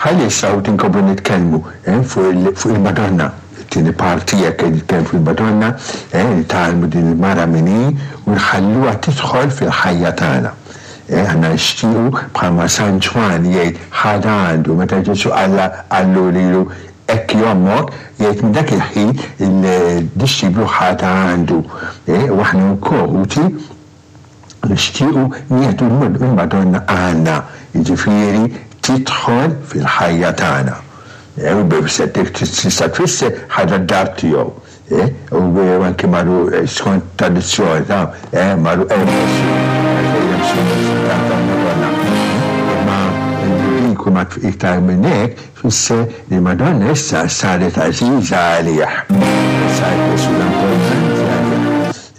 Ħalli issa ħuti nkomplu nitkellmu fuq il-Madonna, it-tieni parti hekk qed nitkellmu fuq il-Madonna, nitgħallmu din il-mara min hi u nħalluha tidħol fil-ħajja tagħna. Aħna nixtiequ bħalma San Ġwann jgħid ħadha għandu meta Ġesù qalla qallu lilu hekk hi ommok, jgħid minn dak il-ħin il-dixxiplu ħadha għandu. U aħna wkoll ħuti nixtiequ nieħdu l-Madonna għandna, jiġifieri tidħol fil-ħajja tagħna. U tista' tfisser ħadha d-dar tiegħu. U anki marru skont tradizzjoni ta' marru tal-Madonna. Imma dik ma iktar minn hekk tfisser li Madonna issa saret għażiża għalih. Saret persuna importanti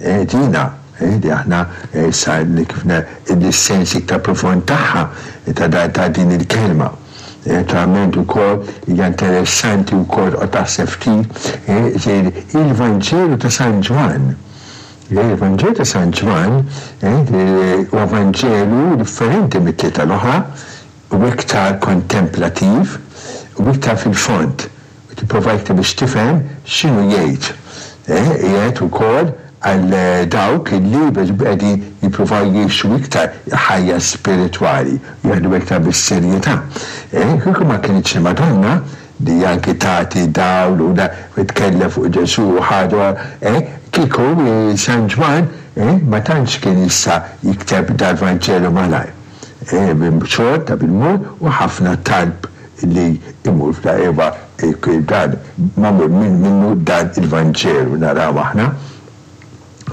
għalih. Dina li aħna issa kif is-sens iktar profond tagħha ta' din il-kelma. Naturalment ukoll hija interessanti wkoll toqgħod taħseb ftit il-Vanġelu ta' San Ġwann. Il-Vanġelu ta' San Ġwann huwa Vanġelu differenti mit-tlieta l-oħra, u iktar kontemplattiv u iktar fil-fond. U tipprova iktar biex tifhem x'inhu jgħid. Qiegħed ukoll għal dawk li qegħdin jippruvaw jgħixu iktar ħajja spiritwali, jieħdu iktar bis-serjetà. Kieku ma kinitx il-Madonna li anki tagħti dawl u tkellem fuq Ġesù u ħaġa, kieku San Ġwann ma tantx kien jista' jikteb dal-Vanġelu malajr. Xogħol ta' bil-mod u ħafna talb li jmur f'da eva dan magħmul minnu dan il-Vanġelu naraw aħna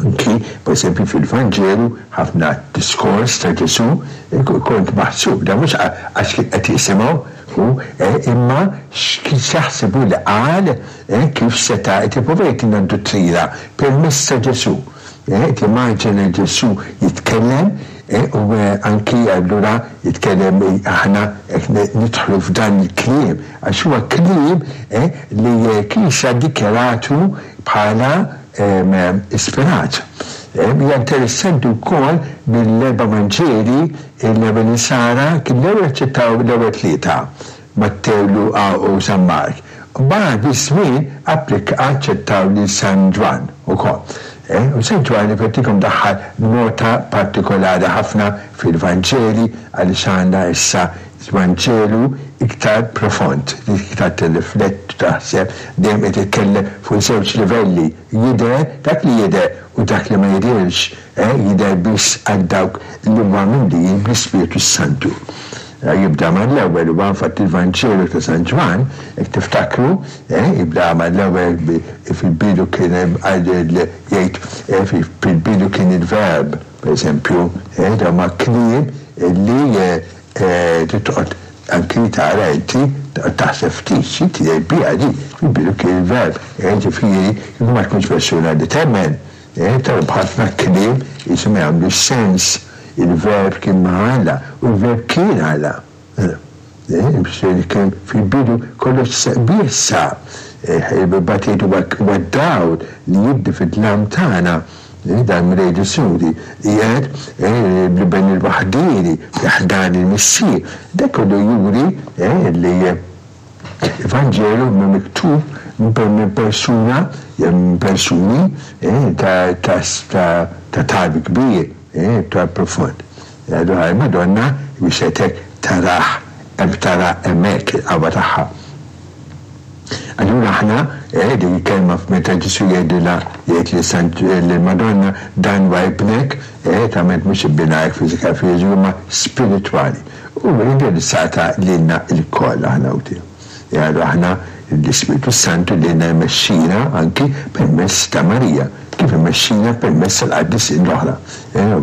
anki pereżempju fil-Vanġelu ħafna diskors ta' Ġesù kont maħsub dan mhux għax kien qed jisimgħu hu imma x'jaħseb hu li qal kif seta' qed jipprova jagħtina d-duttrina permezz ta' Ġesù. Timmaġina Ġesù jitkellem u anki allura jitkellem aħna qed nidħlu f'dan il-kliem għax huwa kliem li l-Knisja ddikjaratu bħala ispirat. Hija interessanti wkoll mill-erba' Vanġeli l-ewwel Insara kien l-ewwel aċċettaw l-ewwel tlieta. Mattew, Luqa u San Mark. Mbagħad biż-żmien applika aċċettaw lil San Ġwann ukoll. U San Ġwann nifettikom daħħal nota partikolari ħafna fil-Vanġeli għaliex għandna issa Vanġelu iktar profond, li iktar tirrifletti u taħseb, dejjem qed jitkellem fuq żewġ livelli, jidher dak li jidher u dak li ma jidhirx. Jidher biss għal dawk li huma mimlijin bl-Ispirtu s-Santu. Jibda mal-ewwel huwa infatti l-Vanġelu ta' San Ġwann, jekk tiftakru, jibda mal-ewwel fil-bidu kien hemm jgħid fil-bidu kien il-Verb, pereżempju, dawn huma kliem li trid toqgħod anki tara inti, toqgħod taħseb ftit xi tgħid biha di, fil-bidu kien il-Verb, jiġifieri kieku ma tkunx persuna li temmen, Tara b'ħafna kliem qishom ma jagħmlux sens. Il-Verb kien ma' Alla u l-Verb kien Alla. Ifisser kien fil-bidu kollox bih sar. Imbagħad jgħid huwa d-dawl li jiddi fid-dlam tagħna. Dan Mulej Ġesù li qiegħed bl-Iben il-waħdieni fi ħdan il-Missier. Dan kollu juri li Il-Vanġelu hu miktub minn persuna jew minn persuni ta' ta' talb kbir, talb profond. Allura il-Madonna biex ngħid hekk tarah hemm tara hemmhekk il-qawwa tagħha. Allura aħna din il-kelma meta Ġesù jgħidilha jgħid lil Sant lill-Madonna dan huwa ibnek, tagħmel mhux ibinha hekk fiżika fiżiku imma spiritwali. U indirizzata lilna lkoll aħna u tiegħu. Jgħidu aħna l-Ispirtu s-Santu lilna jmexxina anki permezz ta' Marija, kif imexxina permezz tal-qaddisin l-oħra.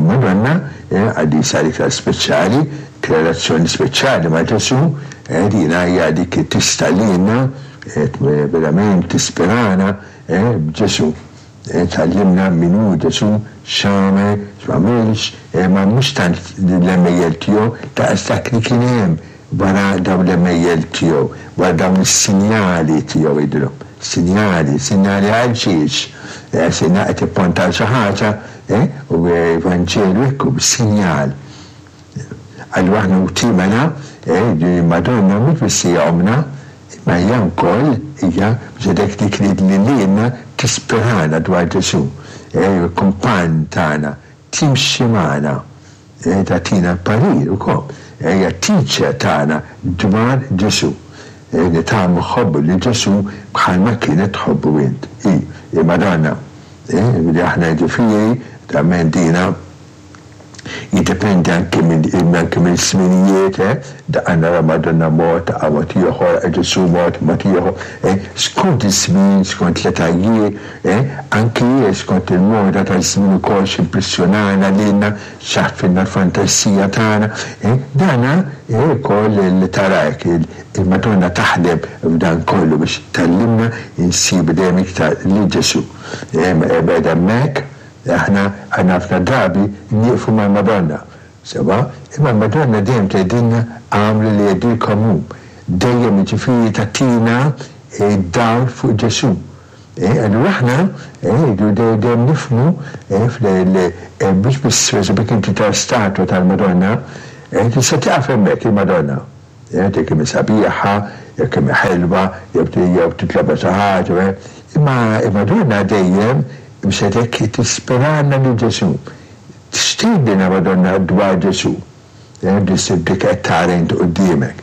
Madonna, qaddisa l-iktar speċjali, relazzjoni speċjali ma' Ġesù, dina hija dik li tista' lilna, verament tispirana b'Ġesù. Tgħallimna min hu Ġesù, x'għamel, x'm'għamilx, imma mhux tant l-għemejjel tiegħu daqs dak li kien hemm wara dawn l-għemejjel tiegħu, wara dawn is-sinjali tiegħu jgħidilhom. Sinjali, sinjali għal xiex? Sinjal qed jipponta għal xi ħaġa, u Vanġelu hekk hu, sinjal. Allura aħna ħuti mela, din il-Madonna mhux biss hija ommna, imma hija wkoll hija biex ngħidlek dik li li lilna tispirana dwar Ġesù, il-kumpann tagħna, timxi magħna, tagħtina l-parir ukoll, hija t-teacher tagħna dwar Ġesù. Nitgħallmu nħobbu lil Ġesù bħalma kienet tħobbu int, hi, il-Madonna. Li aħna jiġifieri, naturalment dina, Jiddependi anki minn anki mill-żminijiet, eh, daqqa naraw Madonna mod, daqqa mod ieħor, Ġesù mod, mod ieħor, eh, skont iż-żmien, skont l-etajiet, eh, anki skont il-moda taż-żmien ukoll x'impressjonana lilna, x'għaffilna l-fantasija tagħna, eh, dana eh, ukoll li tara hekk il-Madonna taħdem f'dan kollu biex tgħallimna insibu dejjem iktar lil Ġesù. Eh, qiegħda hemmhekk, Aħna għandna ħafna drabi nieqfu mal-Madonna, sewwa, imma l-Madonna dejjem tgħidilna agħmlu li jgħidilkom hu. Dejjem jiġifieri tagħtina d-dawl fuq Ġesù. Allura aħna rridu dejjem nifhmu mhux biss pereżempju jekk inti tara statwa tal-Madonna, tista' tieqaf hemmhekk il-Madonna. Jekk kemm hi sabiħa, jew kemm hi ħelwa, jew jew titlobha xi ħaġa, imma il-Madonna dejjem biex hekk tispirana lil Ġesù. X'tgħidilna Madonna dwar Ġesù? Dik qed tara int quddiemek.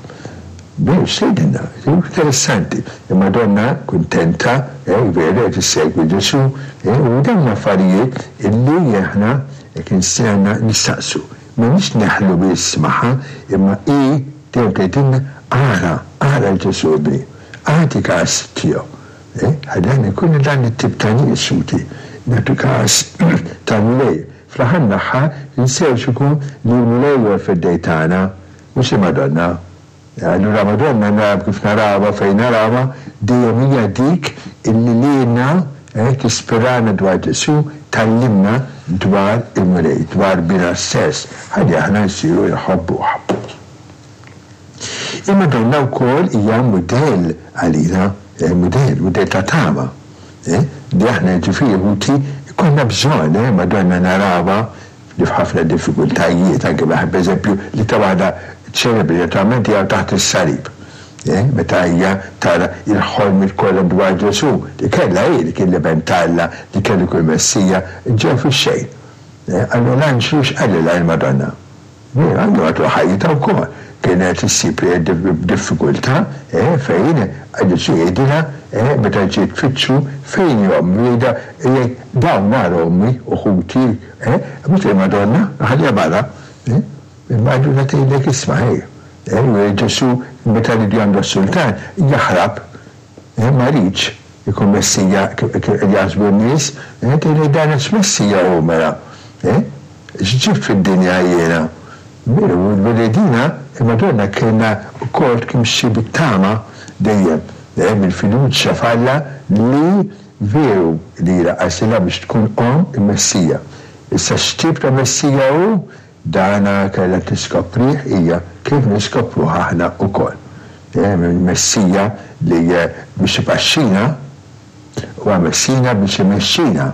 Veru, x'tgħidilna? Interessanti. Il-Madonna kuntenta, veru qed issegwi Ġesù, u dawn l-affarijiet illi aħna jekk għandna nistaqsu. M'għandniex neħlu biss magħha, imma hi dejjem tgħidilna, Ara, ara 'l Ġesù ibni, agħti kas tiegħu. Eh, ħalli aħna jkollna dan it-tip ta' nies, ħuti, nagħtu kas tal-Mulej. Fl-aħħar mill-aħħar, ninsewx ukoll li l-Mulej huwa l-Feddej tagħna, mhux il-Madonna. Allura Madonna naraw kif narawha fejn narawha dejjem hija dik illi lilna tispirana dwar Ġesù, tgħallimna dwar il-Mulej, dwar Binha stess, ħalli aħna nsiru nħobbuh. Il-Madonna wkoll hija mudell għalina, mudell, mudell ta' tama, li aħna jiġifieri ħuti jkollna bżonn, Madonna narawha li f'ħafna diffikultajiet, anke meta pereżempju l-iktar waħda ċelebri naturalment hija taħt is-salib, meta hija tara l-ħolmiet kollha dwar Ġesù li kellha hi li kien l-Iben t'Alla, li kellu jkun il-Messija, ġew fix-xejn. Allura l-anġlu x'qalilha lill-Madonna? Veru, anke matul ħajjitha wkoll kienet issib diffikultà fejn Ġesù jgħidilha meta ġiet tfittxu fejn hi ommi, jgħidha jgħid dawn ara ommi u ħuti, mhux il-Madonna, ħalliha barra. Imma allura tgħidlek isma' ħej, Ġesù meta riedu jagħmlu s-sultan jaħrab, ma riedx ikun Messija kif qed jaħsbu n-nies, tgħidlek dan x'Messija hu mela? X'ġibt fid-dinja jiena? Veru, l-Redina, il-Madonna kellha wkoll timxi bit-tama dejjem, dejjem bil-fiduċja f'Alla li veru li għażilha biex tkun omm il-Messija. Issa x'tip ta' Messija hu, dana kellha tiskoprih hija kif niskopruh aħna wkoll. Il-Messija li biex ipaxxina, Huwa Messina biex imexxina.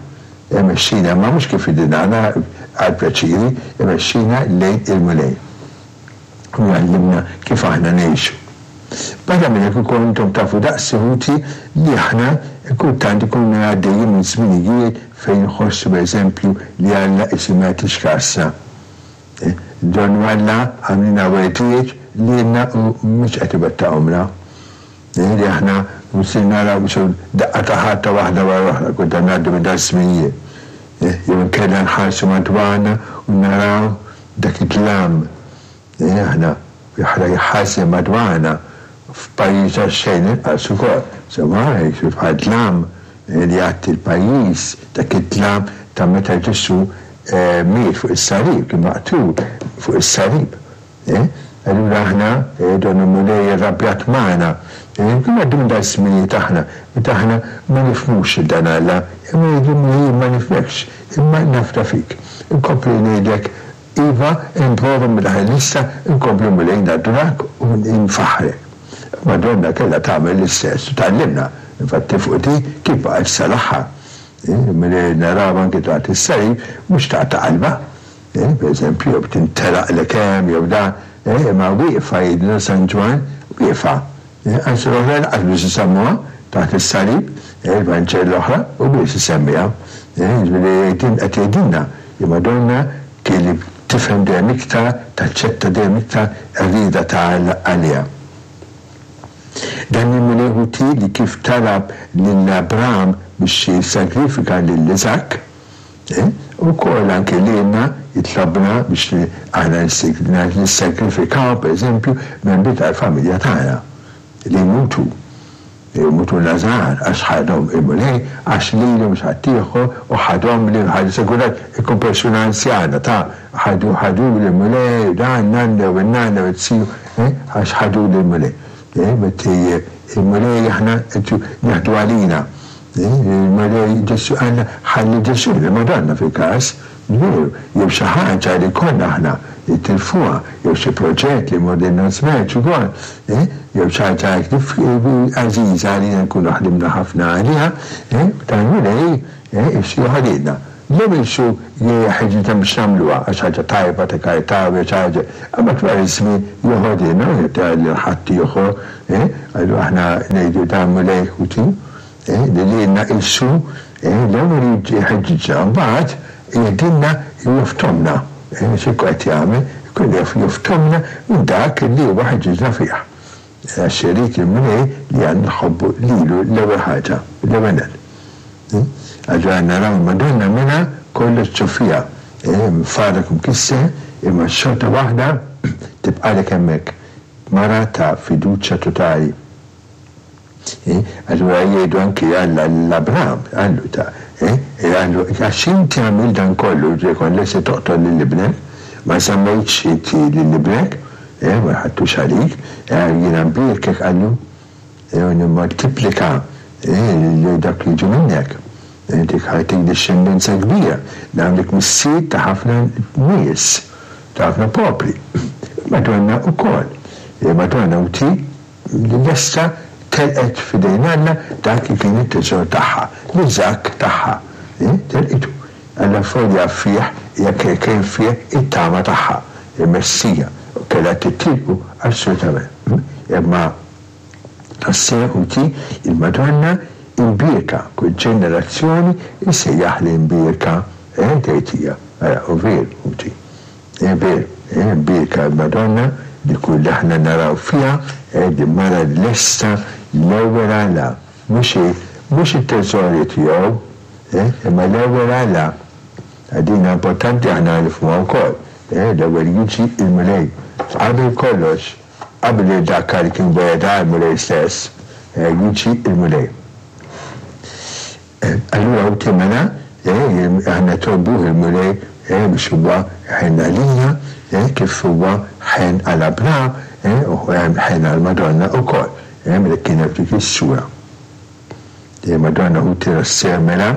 Imexxina imma mhux kif ridna aħna għall-pjaċiri, imexxina lejn il-Mulej. U jgħallimna kif aħna ngħixu. Barra minn hekk ukoll intom tafu daqsi ħuti li aħna kultant ikunna għaddejjin minn żminijiet fejn nħossu pereżempju li Alla qisu ma jagħtix kasna. Donnu Alla għamlilna wegħdiet lilna u mhux qed iwettaqhomlna. Li aħna mhux naraw qisu daqqa ta' ħarta waħda wara l-oħra, kultant ngħaddu minn daż-żminijiet. Jew inkella nħarsu madwarna u naraw dak id-dlam li aħna jħażżen madwarna f'pajjiż għax-xejn inqas ukoll. Sewwa, qisu bħal dlam li jgħatti l-pajjiż, dak id-dlam ta' meta Ġesù miet fuq is-salib, kien maqtul fuq is-salib. Eh? Allura aħna, eh, donnu l-Mulej irrabjat magħna. Eh, kif ngħaddu minn dan iż-żminijiet aħna, meta aħna ma nifhmux lil dan Alla, imma ngħidu Mulej jien ma nifhmekx, imma nafda fik. Inkompli ngħidlek, iva, nprova minn dak nista', inkompli Mulej nadurak u nfaħħrek. Madonna kellha tagħmel l-istess u tgħallimna, infatti fuq di kif baqgħet sal-aħħar. Eh, Mulej naraw anki taħt is-salib mhux taqta' qalbha. Per eżempju, jew tintelaq l hemm jew dan. imma wieqfa jgħidilna San Ġwann, wieqfa. Anzi l-oħra lanqas biss isemmuha taħt is-salib, il-Vanġel l-oħra u biss isemmiha. Jiġifieri qed jgħidilna li Madonna kien tifhem dejjem iktar, taċċetta dejjem iktar ir-rieda ta' Alla għaliha. Dan il-Mulej ħuti li kif talab lil Abraham biex jissagrifika lil Iżakk, ukoll anke lilna jitlobna biex aħna nissagrifikaw, pereżempju, membri tal-familja tagħna li jmutu. Jmutulna żgħar għax ħadhom il-Mulej, għax lili mhux ħaddieħor u ħadhomli, sigurat ikun persuna anzjana ta' ħadu ħaduli l-Mulej, dan nanna jew in-nanna jew it-tiju, għax ħaduli l-Mulej. Meta il-Mulej aħna qed nieħdu għalina. Il-Mulej Ġesù qalna ħalli Ġesù, il-Madonna fil-każ, Veru, jew xi ħaġa li konna aħna nitilfuha, jew xi proġett li jmorrilna żmerċ ukoll, eh, jew xi ħaġa hekk għażiża għalina nkunu ħdimna ħafna għaliha, eh, tal-Mulej, eh, issieħu lilna. L-ewwel xu jeħeġġitna biex nagħmluha għax ħaġa tajba ta' karità jew xi ħaġa, imma wara ż-żmien joħodilna u jagħtiha lil ħaddieħor, eh, allura aħna ngħidu dan Mulej ħuti. Li lilna qisu l-ewwel jħeġġiġna mbagħad jgħidilna joftomna xi jkun qed jagħmel, ikun jaf joftomna minn dak li huwa ħeġġiġna fih. Għax irid il-Mulej li aħna nħobbu lilu l-ewwel ħaġa, l-ewwel nett. Allura naraw il-Madonna mela kollox ġo fiha, mfarrak u mkisser, imma xorta waħda tibqagħlek hemmhekk, mara ta' fiduċja totali. Allura jgħidu anki Alla lil Abraham, qallu ta', qallu, għax inti għamilt dan kollu, ġifieri kont lest li toqtol lil ibnek, ma żammejtx inti lil ibnek, ma ħadtux għalik, jiena nbierkek, qallu, u nimmoltiplika lil dawk li jiġu minnek. Inti ħajtik dixxendenza kbira, nagħmlek missier ta' ħafna nies, ta' ħafna popli. Madonna wkoll. Madonna u ti Li lesta telqet f'idejn Alla dak li kien it-teżor tagħha, l-Iżakk tagħha. Telqitu. Allavolja fih hija kien fih it-tama tagħha, il-Messija, u kellha titilqu assolutament. Imma tassew ħuti, il-Madonna imbierka, kull ġenerazzjoni issejjaħli mbierka, tgħid hija. Ara, u veru, ħuti. Hi veru, hi mbierka l-Madonna li kull aħna naraw fiha din mara lesta l-ewwel għala, mhux hi, mhux it-teżori tiegħu, imma l-ewwel għala. Din importanti aħna nifhmuha wkoll, l-ewwel jiġi l-Mulej qabel kollox, qabel dak li kien wegħedha l-Mulej stess, jiġi l-Mulej. Allura hu mela, aħna nitolbuh il-Mulej biex huwa jħenn għalina kif huwa ħenn għal Abraham u ħenn għall-Madonna wkoll meta kienet f'dik is-sura. Il-Madonna ħuti rasseha mela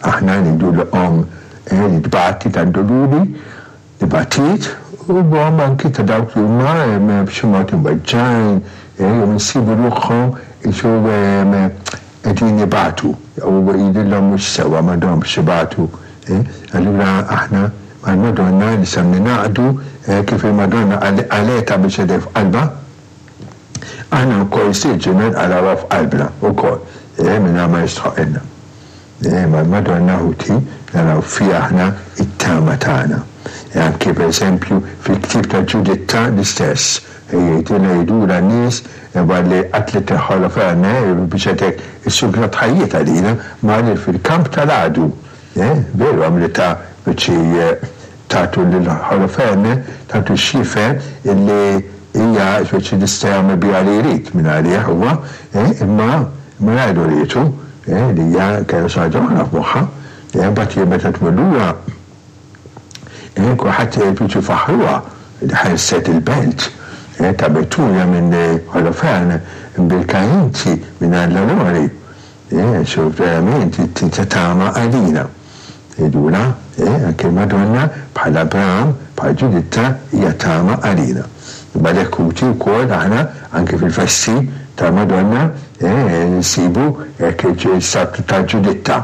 aħna ngħidulu omm li tbati tad-duluri, li batiet u omm anki ta' dawk li huma b'xi mod imweġġgħin jew insibu ruħhom qisu qegħdin ibatu u jidhirlhom mhux sewwa m'għandhomx ibatu. Allura aħna mal-Madonna nistgħu ningħaqdu kif il-Madonna qalgħetha biex qegħdha f'qalbha, aħna wkoll jistieġilna nqalgħuha f'qalbna wkoll mingħajr ma jistħoqqilna. Imma l-Madonna ħuti naraw fiha aħna t-tama tagħna. Anki pereżempju fil-ktieb ta' Ġuditta l-istess, jgħidilha jgħidulha n-nies wara li qatlet Holoferne biex qed hekk issugrat ħajjitha lilha marret fil-kamp tal-għadu. Veru għamlitha biex tagħtu lil Holoferne tagħtu x'jifhem illi hija speċi jista' jagħmel biha li jrid mingħalih huwa, imma mingħajr urietu li hija kellha xi ħaġa oħra f'moħħha. Imbagħad hi meta tmur lura kulħadd jiġu jfaħħruha li ħelset il-belt ta' Betulia minn Holoferne mbierka inti minn Alla l-Għoli. Ġesù verament inti ta' tama għalina. Jgħidulha, anke l-Madonna, bħal Abraham, bħal Ġuditta, hija tama għalina. Imma għalhekk ħuti wkoll aħna anke fil-festi tal-Madonna nsibu hekk il-statwa ta' Ġuditta,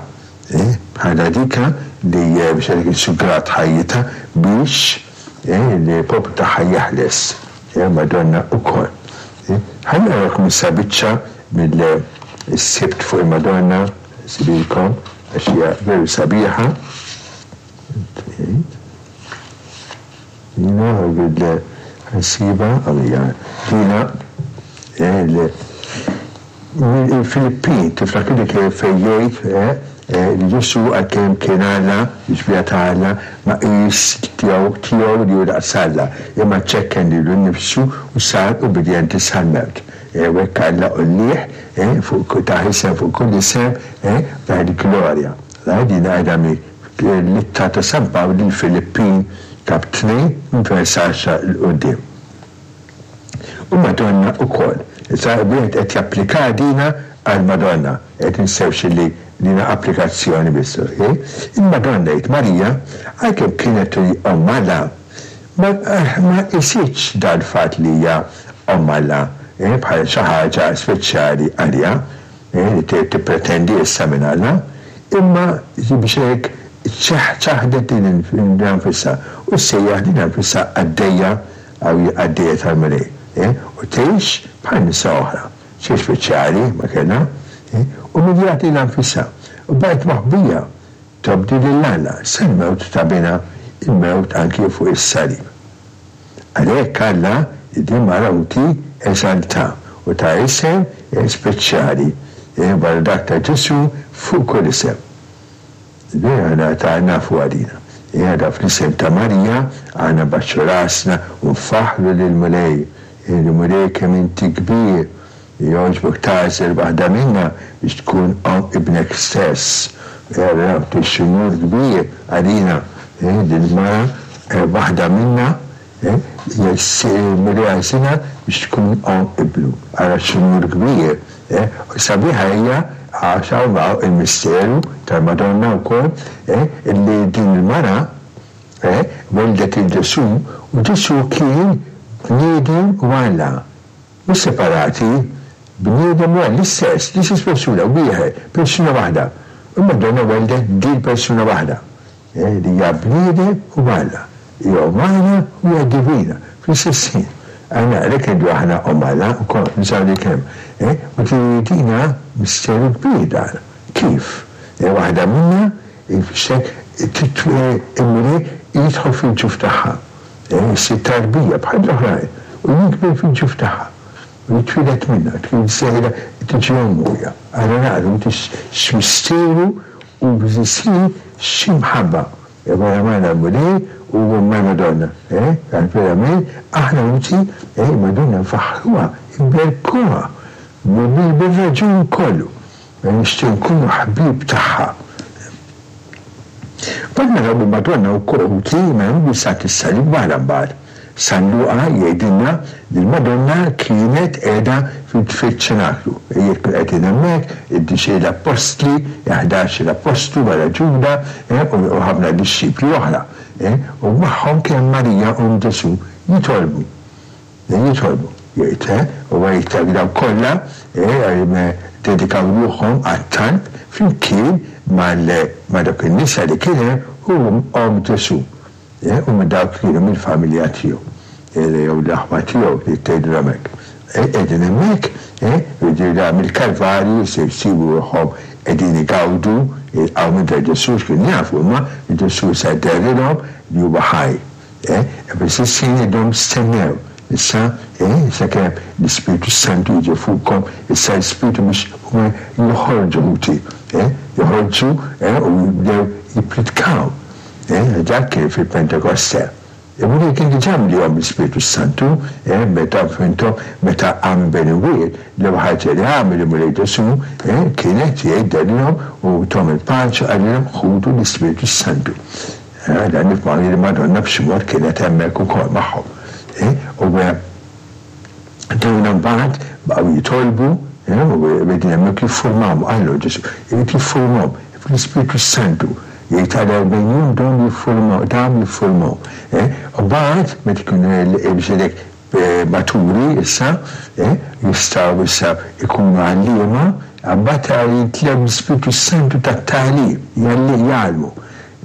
bħala dika li biex għalhekk issugrat ħajjitha biex il-poplu tagħha jeħles. Madonna wkoll. Ħa naqralkom issa biċċa mill-Sibt fuq il-Madonna, nsibilkom għax hija veru sabiħa. Dina ħa nsibha, hawn hija. Dina il-Filippin, tiftakru dik fejn jgħid li Ġesù għalkemm kien Alla, l-xbieha ta' Alla, ma qis tiegħu tiegħu li hu daqs Alla, imma ċekken lilu nnifsu u sar ubbidjenti sal-mewt. U hekk Alla għollieh fuq tah isem fuq kull isem, tah il-glorja. Din qiegħda mill-ittra ta' San Pawl lill-Filippin, kap 2, minn vers 10 'l quddiem. U Madonna ukoll. Issa wieħed qed japplika dina għal Madonna. Qed ninsewx illi dina applikazzjoni biss, ok? Il-Madonna jgħid Marija, għalkemm kienet hi Omm Alla, ma ma qisitx dal-fatt li hija Omm Alla bħala xi ħaġa speċjali għaliha, li tippretendi issa minn Alla, imma biex hekk ċaħdet lilha nfisha u ssejjaħ lilha nfisha qaddejja Hawn hi qaddejja tal-Mulej, u tgħix bħal nisa oħra. Xejn speċjali ma kellha, umiljat lilha nfisha u baqgħet moħbija tobdi lil Alla sal-mewt ta' Binha, il-mewt anki fuq is-salib. Għalhekk Alla li din mara ħuti eżalta u ta isem speċjali wara dak ta' Ġesù fuq kull isem. Vera ngħata nafu għalina. Għada fl-isem ta' Marija aħna nbaxxu rasna u nfaħħru lill-Mulej. Il-Mulej kemm inti kbir li jogħġbok tagħżel waħda minna biex tkun omm ibnek stess. Vera x'unur kbir għalina li l-mara waħda minna il-Mulej għażilha biex tkun omm ibnu. Ara x'unur kbir! U sabiħa hija għax hawn hawn il-misteru tal-Madonna wkoll illi din il-mara welldet lil Ġesù u Ġesù kien bniedem u Alla. Mhux separati, bniedem u Alla, l-istess, l-istess persuna, wieħed, persuna waħda. U l-Madonna welldet din persuna waħda. Li hija bniedem u Alla, hija umana u hija divina fl-istess ħin. Aħna għalhekk ngħidu aħna omm Alla wkoll, nużaw dik il-kelma. U dina misteru kbir dan. Kif? Waħda minna jfisser il-Mulej jidħol fil-ġuf tagħha, jsir tarbija bħall-oħrajn u jikber fil-ġuf tagħha u jitwieled minnha, tkun sejra tiġi ommu hija. Aħna naqru x'misteru U fl-istess ħin xi mħabba! Wara magħna l-Mulej u mal-Madonna, eh, għax verament aħna ħuti, eh, il-Madonna nfaħħruha, inberkuha bir-raġun kollu. Nixtieq nkunu ħbieb tagħha. Mbagħad naraw il-Madonna wkoll ħuti, mela mhux biss għand is-salib waħda mbagħad. San Luqa jgħidilna li l-Madonna kienet qiegħda fiċ-ċenaklu. Jekk kienu qegħdin hemmhekk, id-dixi l-appostli, il-ħdax-il appostlu wara Ġuda, u ħafna dixxipli oħra. U magħhom kien hemm Marija omm Ġesù jitolbu. Jitolbu, jgħid, u jgħid dawk kollha ddedikaw ruħhom għat-talb flimkien ma' dawk in-nisa li kien hemm u omm Ġesù. U minn dawk li kienu mill-familja tiegħu, jew l-aħwa tiegħu li tgħidilhom hekk. Qegħdin hemmhekk, jiġifieri da mill-Kalvarju se jsibu ruħhom qegħdin igawdu l-qawmien ta' Ġesù, x'kienu jafu huma li Ġesù se jderilhom li huwa ħaj. Fl-istess ħin jgħidilhom stennew issa sakemm l-Ispirtu s-Santu jiġi fuqkom, issa l-Ispirtu biex huma joħorġu ħuti, joħorġu u jibdew jippritkaw. Eh, dak kien fil-Pentekoste. Il-Mulej kien diġà mliehom bl-Ispirtu s-Santu, eh, meta fhimtom, meta qam bejn imwiet, l-ewwel ħaġa li għamel il-Mulej Ġesù, eh, kienet jgħid derilhom u thom il-paċi u qalilhom ħudu l-Ispirtu s-Santu. Eh, dan nifhmu li l-Madonna b'xi mod kienet hemmhekk ukoll magħhom. Eh, u eh, Dawn imbagħad baqgħu jitolbu, u qegħdin hemmhekk jiffurmawhom, qallu Ġesù, irid jiffurmahom fl-Ispirtu s-Santu. Jgħid għal 40 jum dawn jiffurmaw, dam jiffurmaw. U mbagħad meta jkunu biex ngħidlek maturi issa, jistgħu issa jkunu għalliema, mbagħad jimtlew bl-Ispirtu s-Santu tat-tagħlim, jgħallmu,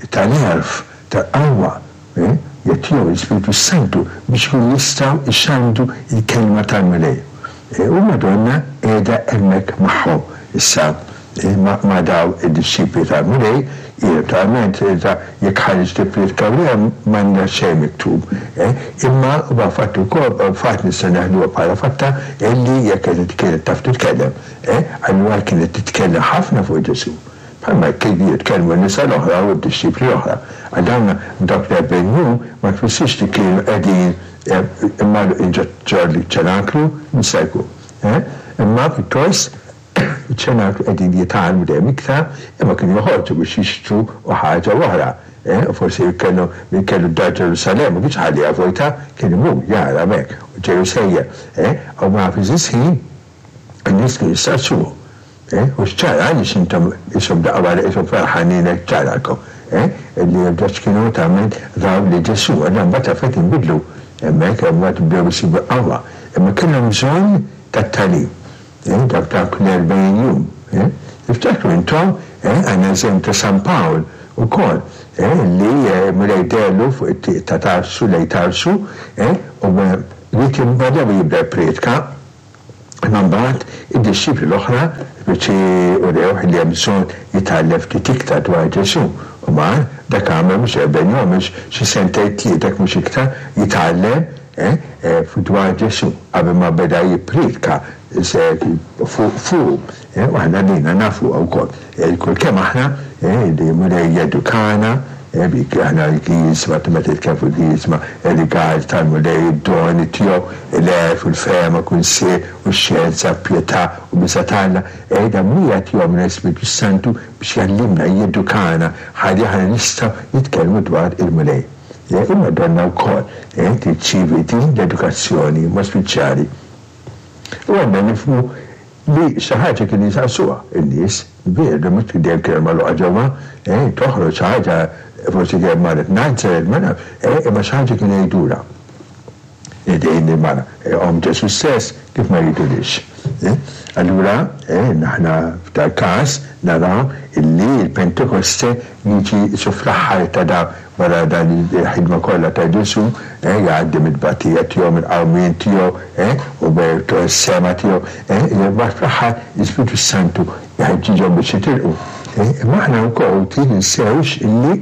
tal-għerf, tal-qawwa. jagħtihom l-Ispirtu s-Santu biex ikunu jistgħu jxandru l-Kelma tal-Mulej. U l-Madonna qiegħda hemmhekk magħhom issa ma' dawn id-dixxipli tal-Mulej, hi naturalment jekk ħareġ tipprietka u le m'għandna xejn miktub. Imma huwa fatt ukoll, fatt nistgħu neħduha bħala fatta illi jekk kienet taf titkellem, allura kienet titkellem ħafna fuq Ġesù. Bħalma kienu jitkellmu n-nisa l-oħra u d-dixxipli l-oħra. Għal dawn dawk l-erbgħin jum ma tfissirx li kienu qegħdin imgħalluqin ġo ċ-ċenaklu, jista' jkun. Imma pjuttost iċ-ċenaklu qegħdin jitgħallmu dejjem iktar, imma kienu joħorġu biex jixtru u ħaġa u oħra. U forsi kellu min kellu d-dar Ġerusalemm ma kienx iħalliha vojta, kien imur jara hemmhekk u ġej u sejjer. U ma fl-istess ħin in-nies kienu jistaqsuhom. Eh, u x'ċara għaliex intom qishom daqqa waħda qishom ferħanin hekk ċarakom, eh, li għax kienu tagħmel raw li Ġesù, allura mbagħad l-affarijiet inbidlu hemmhekk, mbagħad bdew isibu l-qawwa. Imma kellhom bżonn tat-tagħlim, eh, dawk dawk l-erbgħin jum, eh. Tiftakru intom, eh, għandna eżempju ta' San Pawl ukoll, eh, li Mulej deherlu fuq it-triq ta' Tarsu lejn Tarsu, eh, u li kien beda jibda jipprietka, Imma mbagħad id-dixxipli l-oħra speċi urewh li hemm bżonn jitgħallem ftit iktar dwar Ġesù. U mar, dak għamel mhux erbgħin jum, għamel xi sentejn tlieta jekk mhux iktar jitgħallem dwar Ġesù qabel ma beda jippriedka fuqu. U aħna lilna nafuha wkoll. Ilkoll kemm aħna li l-Mulej jedukana, aħna l-Griżma, meta jitkellem fuq il-Griżma, ir-rigal tal-Mulej, id-doni tiegħu, l-għerf u l-fehma, kunsill u x-xjenza, pjetà u biża' t'Alla, dan min jagħtihomlna l-Ispirtu s-Santu biex jgħallimna, jedukana, ħalli aħna nistgħu nitkellmu dwar il-Mulej. Il-Madonna wkoll tirċievi din l-edukazzjoni b'mod speċjali. U għandna nifhmu li xi ħaġa kienu jisaqsuha n-nies, veru, mhux li dejjem kienet magħluqa ġewwa, eh, toħroġ xi ħaġa, forsi kienet marret Nazaret, ma nafx, eh, imma xi ħaġa kienu jgħidulha. Din il-mara, omm Ġesù stess, kif ma jgħidulhiex? Eh? Allura, eh, aħna f'dal-każ naraw illi l-Pentekoste jiġi qisu fl-aħħar ta' da Wara dan il-ħidma kollha ta' Ġesù, jgħaddi mit-tbatija tiegħu, mill-qawmien tiegħu, u s-sema tiegħu, imbagħad fl-aħħar l-Ispirtu s-Santu jħeġġiġhom biex jitilqu. Imma aħna wkoll ħuti ninsewx illi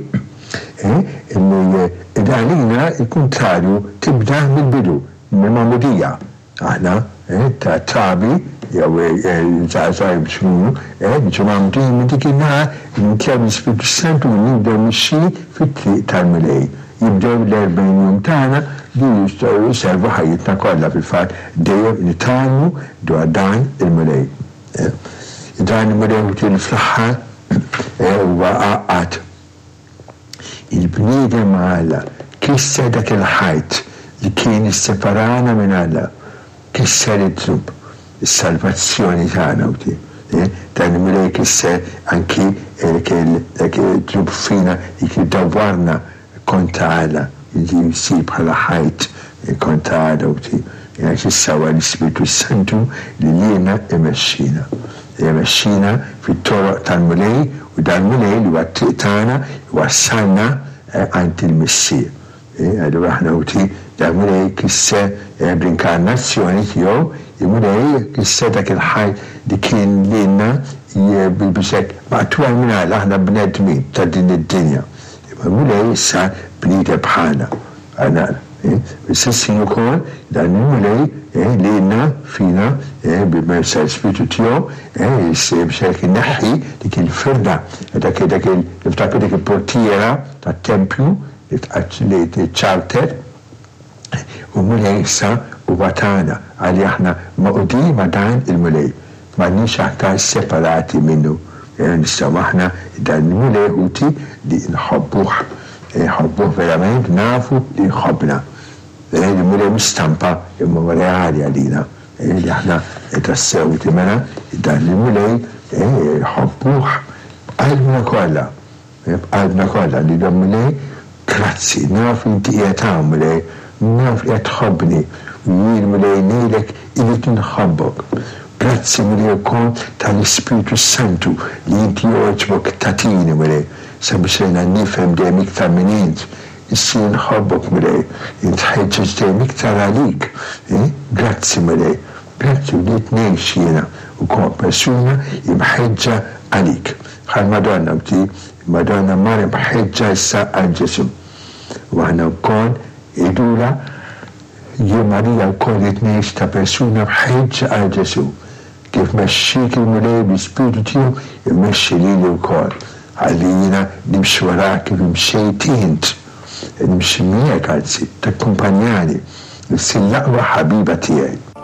illi għalina l-kuntrarju tibda mill-bidu, mill-magħmudija. Aħna, ta' trabi, jew żgħażagħ biex ikunu, niġu mgħammdin minn dik in-nhar li nimtlew bl-Ispirtu s-Santu u nibdew mixjin fit-triq tal-Mulej. Jibdew l-erbgħin jum tagħna li jistgħu jservu ħajjitna kollha, fil-fatt dejjem nitgħallmu dwar dan il-Mulej. Dan il-Mulej ħuti li fl-aħħar huwa għaqqad Il-bniedem ma' Alla kisser dak il-ħajt li kien isseparana minn Alla, kisser id-dnub, is-salvazzjoni tagħna u ti. Dan il-Mulej kisser anki dak id-dnub fina li kien dawwarna kontra Alla, li jsir bħala ħajt kontra Alla u ti. Għax issa huwa l-Ispirtu s-Santu li lilna imexxina. Imexxina fit-toroq tal-Mulej u dal-Mulej li huwa t-triq tagħna iwassalna għand il-Missier. Allura aħna ħuti, dal-Mulej kisser bl-inkarnazzjoni tiegħu, il-Mulej kisser dak il-ħajt li kien lilna biex hekk maqtugħin minn Alla, aħna bnedmin ta' din id-dinja. Imma l-Mulej sar bniedem bħalna. Aħna Fl-istess ħin ukoll dan il-Mulej lilna fina bil-merza tal-Ispirtu tiegħu biex hekk ineħħi dik il-firda, dak dak niftakru dik il-portiera tat-tempju li ċċartet u l-Mulej issa huwa tagħna għalli aħna magħqudin ma' dan il-Mulej. M'għadniex aktar separati minnu. Nistgħu aħna dan il-Mulej ħuti li nħobbuh. Nħobbuh verament, nafu li jħobbna. Il-Mulej mhux stampa imma huwa reali għalina. Li aħna tassew ħuti mela dan il-Mulej nħobbuh b'qalbna kollha. B'qalbna kollha ngħidlu Mulej, grazzi, naf li inti qiegħed hawn Mulej, naf li qed tħobbni u jien Mulej ngħidlek irrid inħobbok. Grazzi Mulej ukoll tal-Ispirtu s-Santu li inti jogħġbok tagħtini Mulej, sabiex jiena nifhem dejjem iktar min int. Issir nħobbok Mulej, nitħeġġeġ dejjem iktar għalik. Grazzi Mulej, grazzi bdiet ngħix jiena wkoll persuna imħeġġa għalik. Bħall-Madonna bdi, il-Madonna mar imħeġġa issa għal Ġesù. U aħna wkoll ngħidulha, jien Marija wkoll ridt ngħix ta' persuna mħeġġa għal Ġesù. Kif mexxiek il-Mulej bl-Ispirtu tiegħu imexxi lili wkoll. Ħalli jiena nimxi warak kif imxejt int. Nimxi miegħek anzi, takkumpanjani, issir l-aqwa ħabiba tiegħi.